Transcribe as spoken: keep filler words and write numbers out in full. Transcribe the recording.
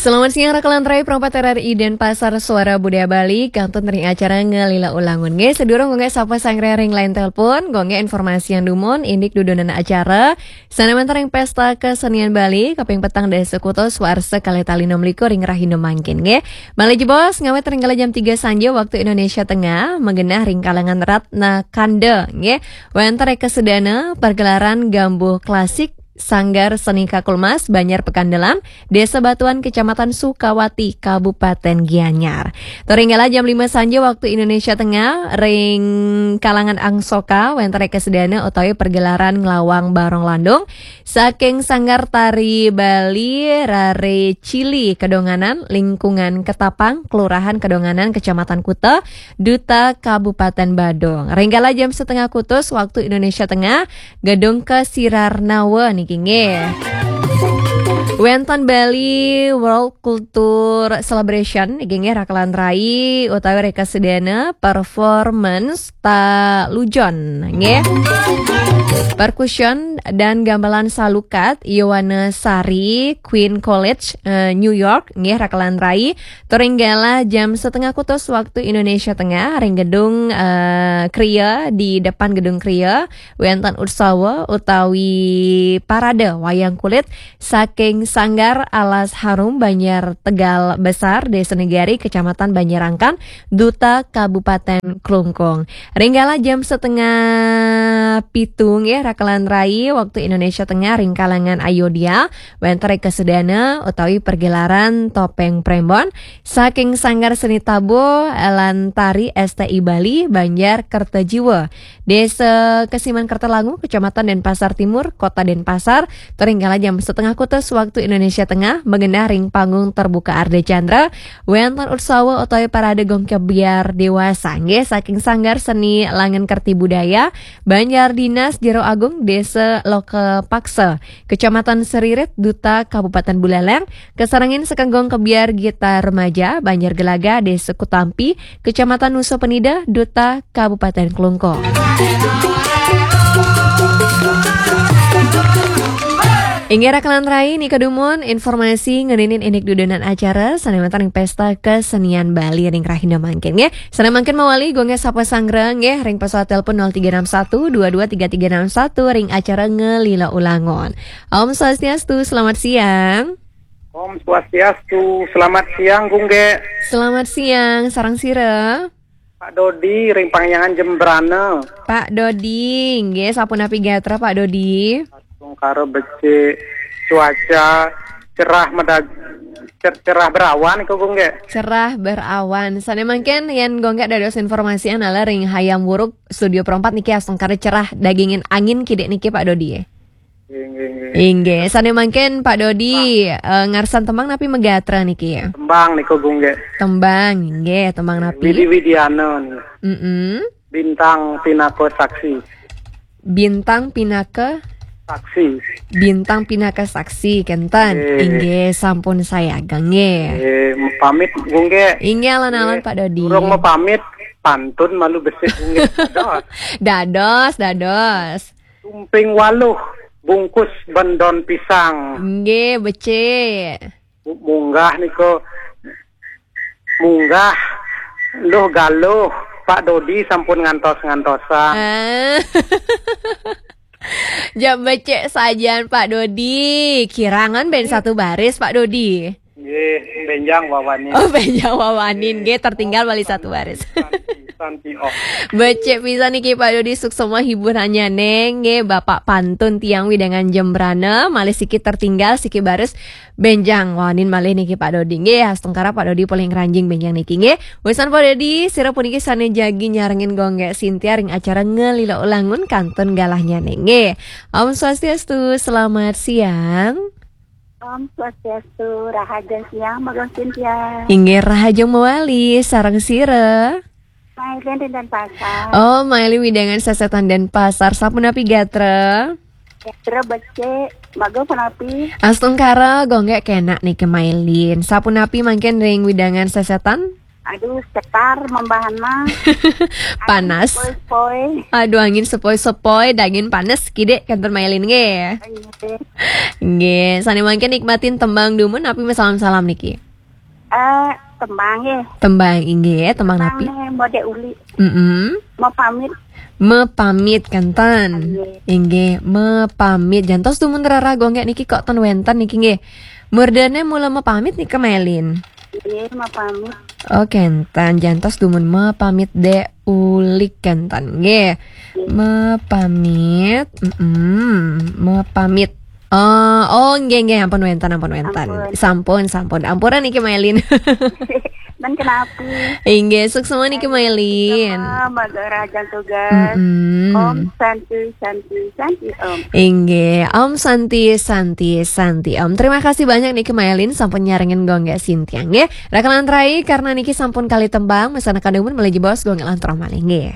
Selamat siang, Rakalan Rai, Perempat R R I Denpasar, Suara Budaya Bali, kantun ring acara Ngelila Ulangun. Nggih, sedurung Gung Gek sapa sanggra ring line telepon, Gung Gek informasian dumun, indik dudonan acara, sane wenten ring Pesta Kesenian Bali, kaping petang dasa kutus warsa kalih tali enam likur ring rahina mangkin, nggih. Malih jebos, ngawit ring kala jam tiga sanja waktu Indonesia Tengah, magenah ring kalangan Ratna Kanda, nggih. Wenten ring kasedana, pergelaran gambuh klasik, Sanggar Seni Kakulmas, Banjar Pekandelan, Desa Batuan, Kecamatan Sukawati, Kabupaten Gianyar. Tur ring kala jam lima sanja waktu Indonesia Tengah, ring kalangan Angsoka, wenten ring kasedana utawi pergelaran nglawang barong landung, saking Sanggar Tari Bali, Rare Cili, Kedonganan, Lingkungan Ketapang, Kelurahan Kedonganan, Kecamatan Kuta, Duta Kabupaten Badung. Ring kala jam setengah kutus waktu Indonesia Tengah, Gedung Kesirarnawa niki nggih. Wenten Bali World Culture Celebration niki nggih, Rakalan Rai utawi ring kasedana performance talujon nggih. Percussion dan gamelan salukat Yowana Sari, Queen College, eh, New York nggih, Rakalan Rai. Tur ring kala jam setengah kutus waktu Indonesia Tengah, ring gedung, eh, Kria, di depan gedung Kria, wenten utsawa utawi parade wayang kulit saking Sanggar Alas Harum Banjar Tegal Besar, Desa Negari, Kecamatan Banjarangkan, Duta Kabupaten Klungkung. Ring kala jam setengah pitu nggih, Rakalan Rai, waktu Indonesia Tengah, ring kalangan Ayodhya, wenten ring kasedana utawi pergelaran Topeng Prembon saking Sanggar Seni Tabuh lan Tari S T I Bali, Banjar Kertajiwa, Desa Kesiman Kertalangu, Kecamatan Denpasar Timur, Kota Denpasar, tur ring kala jam setengah kutus waktu Indonesia Tengah, magenah ring panggung terbuka Ardha Candra, wenten utsawa utawi parade Gong Kebyar Dewasa, nggih, saking Sanggar Seni Langen Kerti Budaya, Banjar Dinas Jero Agung, Desa Loka Paksa, Kecamatan Seririt, Duta Kabupaten Buleleng, kasarengin saking Gong Kebyar Gita Remaja, Banjar Gelaga, Desa Kutampi, Kecamatan Nusa Penida, Duta Kabupaten Klungkung. Inggih, Rakalan Rai, nika dumun informasi ngeninin indik dudonan acara sane wenten ring Pesta Kesenian Bali ring rahina mangkin, nggih. Sane mangkin mawali Gung Gek sapa sanggra, nggih, ring pesawat telepon nol tiga enam satu dua dua tiga tiga enam satu ring acara Ngelila Ulangun. Om Swastiastu, selamat siang. Om Swastiastu, selamat siang, Gung Gek. Selamat siang, sareng sira? Pak Dodi, ring Pangyangan Jembrana. Pak Dodi, nggih, sapunapi gatra, Pak Dodi? Astungkara becik, cuaca cerah medag-, cer-, cerah berawan iku, Gung Gek. Cerah berawan. Sane mangkin yen Gung Gek dados informasian ala ring Hayam Wuruk, Studio Perempat niki astungkara cerah dagingin angin kidik niki, Pak Dodi. Inggih, inggih. Inggih, sane mangkin Pak Dodi, eh, ngarsan tembang napi magatra niki? Tembang niku, Gung Gek. Tembang, inggih, tembang napi? Widi Widiana niku. Mm-mm. Bintang Pinaka Saksi. Bintang Pinaka? Saksi. Bintang Pinaka Saksi, kenten. Nggih. Inggih, sampun sayaga, nggih. Nggih, pamit, Gung Gek. Inggih, alon-alon, nggih. Pak Dodi. Durung mapamit, pantun malu becik, Gung Gek. Dados. Dados, dados. Tumping waluh, bungkus bendon pisang. Nggih, becik. Mu-, munggah niku, munggah, luh galuh, Pak Dodi sampun ngantos-ngantosan. Ah. Jam becik sajan, Pak Dodi. Kirangan ben satu baris, Pak Dodi. Nggih, benjang wawanin. Oh, benjang wawanin. Nggih, tertinggal balik satu baris. Santi, santi, oh. Becik pisan niki, Pak Dodi, suksma hiburannya, neng. Nggih, Bapak pantun tiang wewidangan Jembrana, malih siki tertinggal, siki baris, benjang wawanin malih niki, Pak Dodi. Nggih, astungkara Pak Dodi paling ranjing benjang niki, nggih. Wisan Pak Dodi, sira puniki sane jagi nyarengin Gung Gek Sintia ring acara Ngelila Ulangun kantun galahnya, neng. Nggih. Om Swastiastu, selamat siang. Om Swastiastu, rahaja siang, Mbak Gung Sintia. Inggih, rahaja mawali, sareng sira? Mailin ring Denpasar. Oh, Mailin wewidangan sesetan Denpasar. Sapunapi gatra? Gatra becik, Mbak Gung punapi? Astungkara, Gung Gek kenak niki Mailin. Sapunapi mangkin ring wewidangan sesetan? Aduh, setar mambahan mah. Panas. Poi-poi. Aduh, angin sepoi-sepoi, dangin panas kidek kantor Mailin nggih. Nggih, sane mangkin nikmatin tembang dumun napi masalam-salam niki? Eh, tembang ya. Tembang inggih, tembang napi? Tembang nih, mode uli. Mm-mm. Mau pamit. Mepamit kanten. Nggih. Inggih, mepamit. Jantos dumun rara gonggek niki kok ten wenten niki nggih. Murdene mula mepamit niki Mailin. Iya, mau pamit. Oh, kenten. Jantos dumun mepamit dek ulik kenten nggih. Mepamit. Mm-mm. Mepamit. Oh, oh, nggih, nggih, ampun wenten, ampun wenten. Ampun. Sampun, sampun. Ampura niki Mailin. Dan kenapa? Inggih, suksma niki Mailin. Sama Mbak Rajan tugas. Mm-mm. Om Santi, Santi, Santi, Om. Inggih, Om Santi, Santi, Santi, Om. Terima kasih banyak niki Mailin sampun nyarengin gonggek Sintia nggih. Rakalan rai karena niki sampun kali tembang, mesana kadumun meleji bos gonggek lantrong malih nggih.